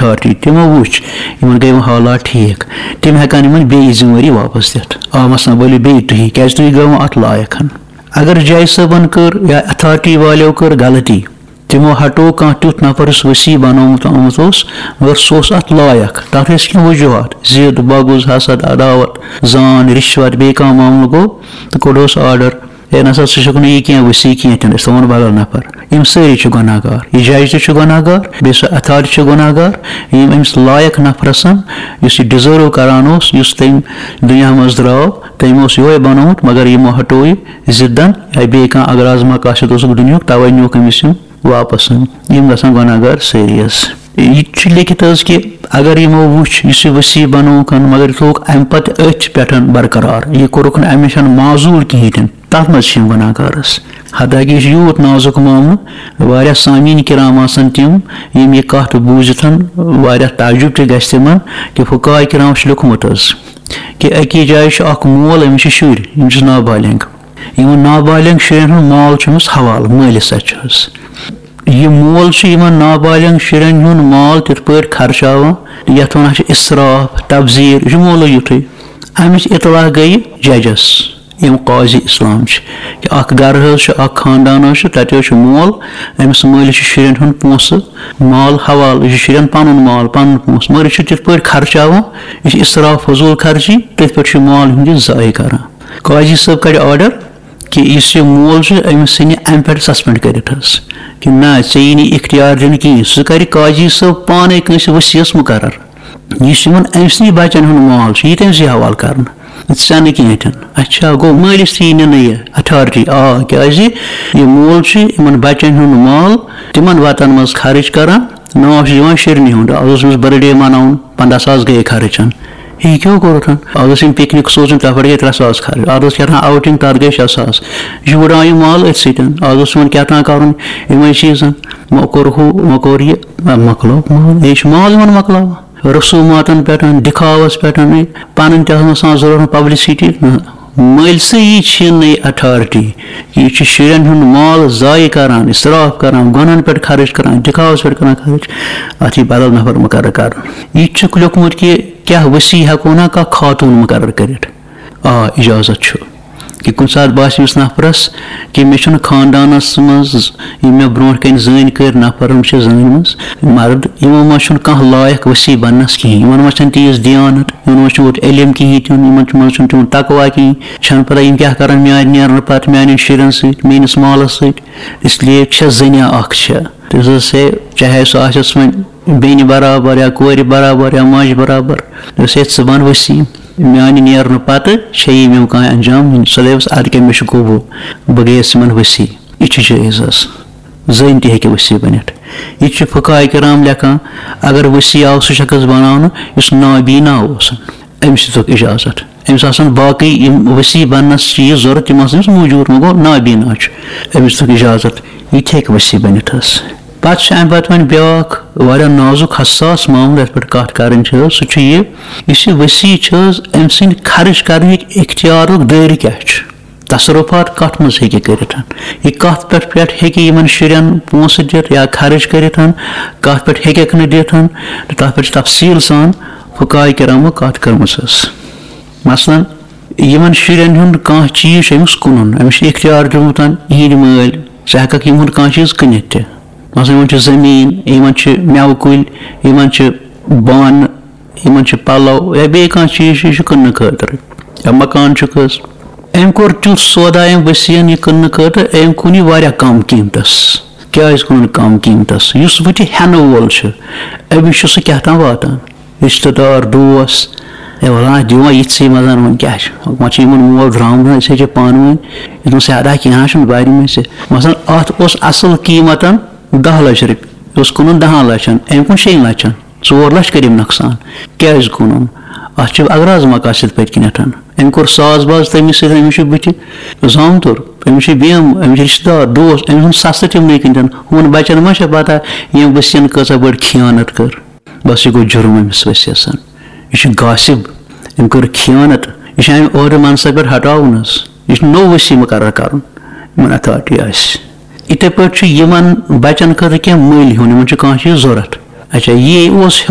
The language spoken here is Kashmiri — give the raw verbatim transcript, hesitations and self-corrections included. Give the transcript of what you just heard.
اتھارٹی، تِمو وٕچھ یِمن گٔے وۄنۍ حالات ٹھیٖک، تِم ہٮ۪کن یِمن بیٚیہِ ذمہٕ وٲری واپس دِتھ۔ آ، مثلاً ؤلِو بیٚیہِ تُہی، کیازِ تُہۍ گٔیوٕ اتھ لایق ہن؟ اگر جج صٲبن کٔر یا اتھارٹی والیو کٔر غلطی، تِمو ہٹوو کانٛہہ تیُتھ نفر یُس وصی بنومُت آمُت اوس، مگر سُہ اوس اتھ لایق۔ تتھ ٲسۍ کینٛہہ وجوہات، ضد، بغض، حسد، عداوت، زان، رشوت، بیٚیہِ کانٛہہ معاملہٕ گوٚو، تہٕ کوٚڑہوس آرڈر، ہے نسا، ژٕ چھُکھ نہٕ یہِ کینٛہہ وصی کینٛہہ، تہِ نہٕ، أسۍ تھاوون بدل نفر۔ یِم سٲری چھِ گۄناہ گار، یہِ جج تہِ چھُ گۄناہ گار، بیٚیہِ سُہ اتھارٹی چھُ گۄناہ گار۔ یِم أمِس لایق نفرس، یُس یہِ ڈِزٲرو کران اوس، یُس تٔمۍ دُنیا منٛز درٛاو، تٔمۍ اوس یِہوے بنومُت، مگر یِمو ہٹوو یہِ ضدن یا بیٚیہِ کانٛہہ اغراض مقاصد اوسُکھ دُنیاہُک، توے نیوٗکھ أمِس یِم واپس۔ یِم گژھن گۄناہ گار سٲری حظ۔ یہِ تہِ چھُ لیکھِتھ حظ کہِ اگر یِمو وُچھ یُس یہِ وصی بنووُکھ، مگر یہِ تھوٚوُکھ امہِ پتہٕ أتھۍ پٮ۪ٹھ برقرار، یہِ کوٚرُکھ نہٕ امہِ نِش معزول کِہینۍ تہِ نہٕ، تتھ منٛز چھِ یِم گۄناہ گار حظ۔ حتیٰ کہِ یہِ چھُ یوٗت نازُک معاملہٕ، واریاہ سامعیٖن کرام آسن تِم، یِم یہِ کتھ بوٗزِتھ واریاہ تعجب تہِ گژھِ تِمن کہِ فقہاء کرام چھُ لیوٚکھمُت حظ کہِ أکِس جایہِ چھُ اکھ مول، أمِس چھِ شُرۍ، یِم چھِ نابالغ۔ یِمن نابالغ شُرٮ۪ن ہُنٛد مال چھُ أمِس حوالہٕ، مٲلِس اَتھِ چھُ حظ۔ یہِ مول چھُ یِمن نابالغ شُرٮ۪ن ہُنٛد مال تِتھ پٲٹھۍ خرچاوان، یَتھ وَنان چھِ اِسراف، تبذیر، یہِ چھُ مولٕے یُتھُے۔ اَمِچ اطلاع گٔیہِ ججس، یِم قاضی اسلام چھِ، کہِ اکھ گرٕ حظ چھُ، اکھ خاندان حظ چھُ، تَتہِ حظ چھُ مول، أمِس مٲلِس چھُ شُرٮ۪ن ہُنٛد پونٛسہٕ، مال حوالہٕ، یہِ چھُ شُرٮ۪ن پَنُن مال، پَنُن پونٛسہٕ، مگر یہِ چھُ تِتھ پٲٹھۍ خرچاوان، یہِ چھُ اِسراف، فضوٗل خرچی، تٔتھۍ پٮ۪ٹھ چھُ یہِ مال ہُنٛد یہِ ضایع کران۔ قاضی صٲب کَڑِ آرڈر کہِ یُس یہِ مول چھُ، أمِس ژھٕنہِ اَمہِ پٮ۪ٹھ سسپینڈ کٔرِتھ حظ، کہِ نہ، ژےٚ یی نہٕ اختیار دِنہٕ کِہیٖنۍ۔ سُہ کَرِ قاضی صٲب پانَے کٲنٛسہِ ؤسیٖس مُقرر، یُس یِمَن أمۍ سٕنٛدِ بَچَن ہُنٛد مال چھُ، یہِ تٔمۍ سٕے حوالہٕ کَرنہٕ، ژےٚ نہٕ کِہیٖنۍ تہِ نہٕ۔ اچھا، گوٚو مٲلِس تہِ یی نہٕ یہِ اتھارٹی؟ آ، کیٛازِ یہِ مول چھُ یِمَن بَچَن ہُنٛد مال تِمَن وَتَن منٛز خرٕچ کَران، ناو چھُ یِوان شیرنہِ ہُنٛد، آز اوس أمِس برتھ ڈے مَناوُن، پنٛداہ ساس گٔے خرٕچ۔ یہِ کیٛاہ کوٚرُتھ؟ آز ٲسۍ یِم پِکنِک سوزٕنۍ، تَتھ پٮ۪ٹھ گٔے ترٛےٚ ساس خرٕچ۔ آز ٲس کیٛاہ تام آوٹِنٛگ، تَتھ گٔے شےٚ ساس۔ یہِ چھُ وٕڑان یہِ مال أتھۍ سۭتۍ۔ آز اوس یِمَن کیٛاہ تام کَرُن یِمَے چیٖزَن۔ وۄنۍ کوٚر ہُہ، وۄنۍ کوٚر یہِ، نہ، مۄکلوو مال۔ یہِ چھُ مال یِمَن مۄکلاوان۔ رسوٗماتَن پٮ۪ٹھ، دِکھاوَس پٮ۪ٹھ، پَنٕنۍ تہِ آسان ضروٗرت، پبلسٹی۔ نہ، مٲلسٕے یی چھِنہٕ یہِ اتھارٹی۔ یہِ چھُ شُرٮ۪ن ہُنٛد مال ضایع کران، اِسراف کران، گۄنہَن پٮ۪ٹھ خرٕچ کران، دِکھاوَس پٮ۪ٹھ کران خرٕچ۔ اَتھ یی بدل نفر مُقرر کرنہٕ۔ یہِ تہِ چھُکھ لیوٚکھمُت کہِ کیٛاہ وصی ہٮ۪کو نا کانٛہہ خاتوٗن مُقرر کٔرِتھ؟ آ، اجازت چھُ۔ کہِ کُنہِ ساتہٕ باسہِ أمِس نفرس کہِ مےٚ چھُنہٕ خاندانس منٛز یِم مےٚ برونٛٹھ کنہِ زٔنۍ کٔرۍ نفر، یِم چھِ زٔنۍ منٛز مرد، یِمو منٛز چھُنہٕ کانٛہہ لایق وصی بننس کِہینۍ، یِمن منٛز چھَنہٕ تیٖژ دیانت، یِمن منٛز چھُنہٕ تیوٗت علم کِہینۍ تہِ نہٕ، یِمن چھُ، منٛز چھُنہٕ تِمن تقویٰ کِہینۍ، چھَنہٕ پتہ یِم کیٛاہ کرن میانہِ نیرنہٕ پتہٕ میانٮ۪ن شُرٮ۪ن سۭتۍ، میٲنِس مالس سۭتۍ۔ اس لیے چھےٚ زٔنیا اکھ چھےٚ۔ تٔمِس ٲس ہے، چاہے سُہ آسٮ۪س وۄنۍ بیٚنہِ برابر یا کورِ برابر یا ماجہِ برابر، تٔمِس ہے ژٕ بن وصی۔ میانہِ نیرنہٕ پتہٕ چھےٚ یِم یِم کانٛہہ انجام نِنۍ۔ سۄ دَپٮ۪س، اَدٕ کیٛاہ، مےٚ چھُ قبوٗل، بہٕ گٔیَس یِمن وصی۔ یہِ چھُ جٲیِز حظ۔ زٔنۍ تہِ ہیٚکہِ وصی بٔنِتھ۔ یہِ تہِ چھُ فقہاء کرام لیکھان، اگر وصی آو سُہ شخص بناونہٕ یُس نابینا اوس، أمِس دِتُکھ اجازت۔ أمِس آسن باقٕے یِم وصی بننس چیٖز ضروٗرت، تِم آسن أمِس موٗجوٗد، وۄنۍ گوٚو نابینا چھُ، أمِس دِتُکھ اجازت، یہِ تہِ ہیٚکہِ وصی بٔنِتھ حظ۔ پتہٕ چھُ اَمہِ پتہٕ وۄنۍ بیٛاکھ واریاہ نازُک حساس معاملہٕ یَتھ پٮ۪ٹھ کَتھ کَرٕنۍ چھِ حظ، سُہ چھُ یہِ، یُس یہِ وصی چھِ حظ، أمۍ سٕنٛدِ خرٕچ کَرنٕکۍ اختیارُک دٲیرٕ کیٛاہ چھُ؟ تصرفات کَتھ منٛز ہیٚکہِ کٔرِتھ؟ یہِ کَتھ پٮ۪ٹھ پٮ۪ٹھ ہیٚکہِ یِمَن شُرٮ۪ن پونٛسہٕ دِتھ یا خرٕچ کٔرِتھ؟ کَتھ پٮ۪ٹھ ہیٚکٮ۪کھ نہٕ دِتھ؟ تہٕ تَتھ پٮ۪ٹھ چھِ تفصیٖل سان فقہاء کرامو کَتھ کٔرمٕژ حظ۔ مثلاً، یِمَن شُرٮ۪ن ہُنٛد کانٛہہ چیٖز چھُ أمِس کٕنُن، أمِس چھُ اختیار دیُتمُت یِہِنٛدۍ مٲلۍ، ژٕ ہٮ۪کَکھ یِہُنٛد کانٛہہ چیٖز کٕنِتھ تہِ۔ مثلاً، یِمَن چھُ زٔمیٖن، یِمَن چھِ مٮ۪وٕ کُلۍ، یِمَن چھِ بانہٕ، یِمَن چھِ پَلَو یا بیٚیہِ کانٛہہ چیٖز چھُ، یہِ چھُ کٕننہٕ خٲطرٕ، یا مکان چھُ کٲنٛسہِ۔ أمۍ کوٚر تیُتھ سودا أمۍ ؤسیٖعَن یہِ کٕننہٕ خٲطرٕ، أمۍ کُن یہِ واریاہ کَم قۭمتَس۔ کیٛازِ کٕنُن کَم قۭمتَس؟ یُس وۄنۍ تہِ ہٮ۪نہٕ وول چھُ، أمِس چھُ سُہ کیٛاہ تام واتان۔ رِشتہٕ دار، دوس، ہے وَلہٕ ہا، دِوان یِتھسٕے منٛز، وۄنۍ کیٛاہ چھُ؟ وۄنۍ چھُ یِمَن مول درٛامُت، أسۍ ہے چھِ پانہٕ ؤنۍ۔ یہِ دوٚپمَس، ہے اَدا کینٛہہ نہ چھُنہٕ، بارِ منٛز چھِ۔ مثلاً، اَتھ اوس اَصٕل قۭمَتَن دَہ لَچھ رۄپیہِ، یہِ اوس کٕنُن دَہَن لَچھَن، أمۍ کُن شیٚن لَچھَن، ژور لَچھ کٔرِم نۄقصان۔ کیٛازِ کٕنُن؟ اَتھ چھِ اغراض مقاصد پٔتۍ کِنٮ۪تھ۔ أمۍ کوٚر ساز باز تٔمِس سۭتۍ، أمِس چھُ بٕتھِ زامتُر، أمِس چھِ بیمہٕ، أمِس چھِ رِشتہٕ دار، دوس، أمۍ سُنٛد سَستہٕ تِمنٕے کِنۍ دِنہٕ۔ ہُمَن بَچَن ما چھےٚ پَتہ ییٚمۍ ؤسیٖعَن کۭژاہ بٔڑ خیانت کٔر؟ بس، یہِ گوٚو جُرُم أمِس ؤسیٖعَس۔ یہِ چھُ غاصب، أمۍ کٔر خیانت، یہِ چھُ اَمہِ عہدٕ منصب پٮ۪ٹھ ہٹاوُن حظ۔ یہِ چھُ نوٚو ؤسیٖع مُقرر کَرُن، یِمَن اتھارٹی آسہِ۔ یِتھَے پٲٹھۍ چھُ یِمَن بَچَن خٲطرٕ کینٛہہ مٔلۍ ہیوٚن، یِمَن چھُ کانٛہہ چیٖز ضوٚرَتھ۔ اچھا، یہِ اوس